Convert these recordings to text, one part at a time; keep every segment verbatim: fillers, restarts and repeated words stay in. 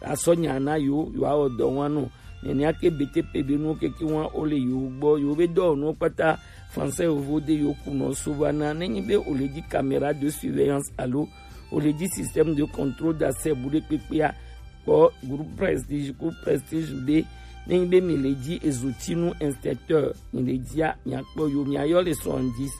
asɔ nya na yo, yo awɔ dɔ wa nɔ. Nɛnɛ ake B T P be nu keke wa o le yo gbɔ, yo be dɔ nu kpata français yo vo de yo ku nɔ so va na. Nenyi be o le di caméra de surveillance alo o le di système de contrôle d'accès bu de kpekpe a, kpɔ groupe Prestige, groupe Prestige de. Nenyi be mi le di ezotinu inspecteur, mi le di a, mi akpɔ yo, mi ayɔ le soixante-dix,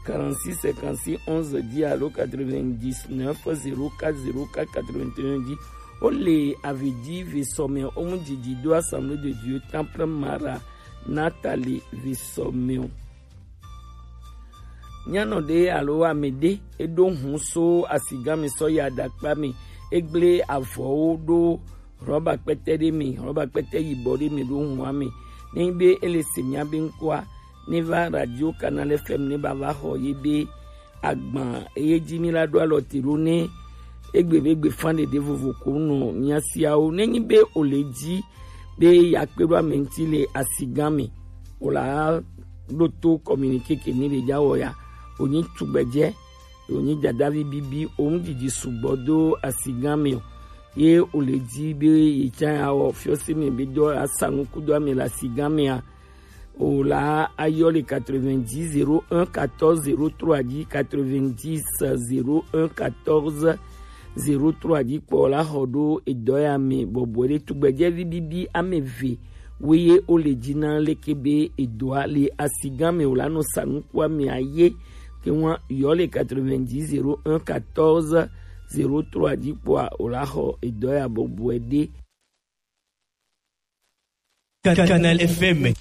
quarante-six, cinquante-six, onze, dix alo quatre-vingt-dix-neuf, zéro quatre, zéro quatre, quatre-vingt-un dix. O le avi di ve sɔ mɛ o mu didi do Assemblée de Dieu Temple Mara Nathalie ve sɔ mɛ o. Nyanɔ ɖe alo ame ɖe e ɖo hun so asigan mi sɔ yi aɖakpa mi, e gble avɔwo ɖo rɔba kpɛtɛ ɖe mi, rɔba kpɛtɛ yibɔ ɖe mi ɖo hun ame. Ne nyi be e le se mia be ŋkɔa, ne va Radio Canal F M ne ba va xɔ ye be agban eye dzi mi la ɖo alɔ te ɖo ne egbe be gbe fan ɖeɖe vovo ko nɔ mia siawo. Ne nyi be o le dzi be ya kpe ɖo ame ŋuti le asigan me, o la ɖo to communiqué ke ni le dza wɔ ya, o nyi tugbedzɛ, o nyi dadavi bibi, o ŋu didi sugbɔ do asigan me o. Ye o le dzi be ye tsã ya wɔ fiɔsi me be dɔ asa nuku do ame le asigan mea, o la ayɔ le quatre-vingt-dix zéro un quatorze zéro trois dzi, quatre-vingt-dix zéro un quatorze zéro trois dzi kpɔ la xɔ ɖo edɔ ya me bɔbɔe ɖe. Tugbedzɛvi bibi ame eve woye o le dzi na leke be edɔa le asigan me o la nɔ sa nuku ame aye ke ŋua yɔ le quatre-vingt-dix zéro un quatorze zéro trois dzi kpɔa o la xɔ edɔ ya bɔbɔe ɖe. Canal F M.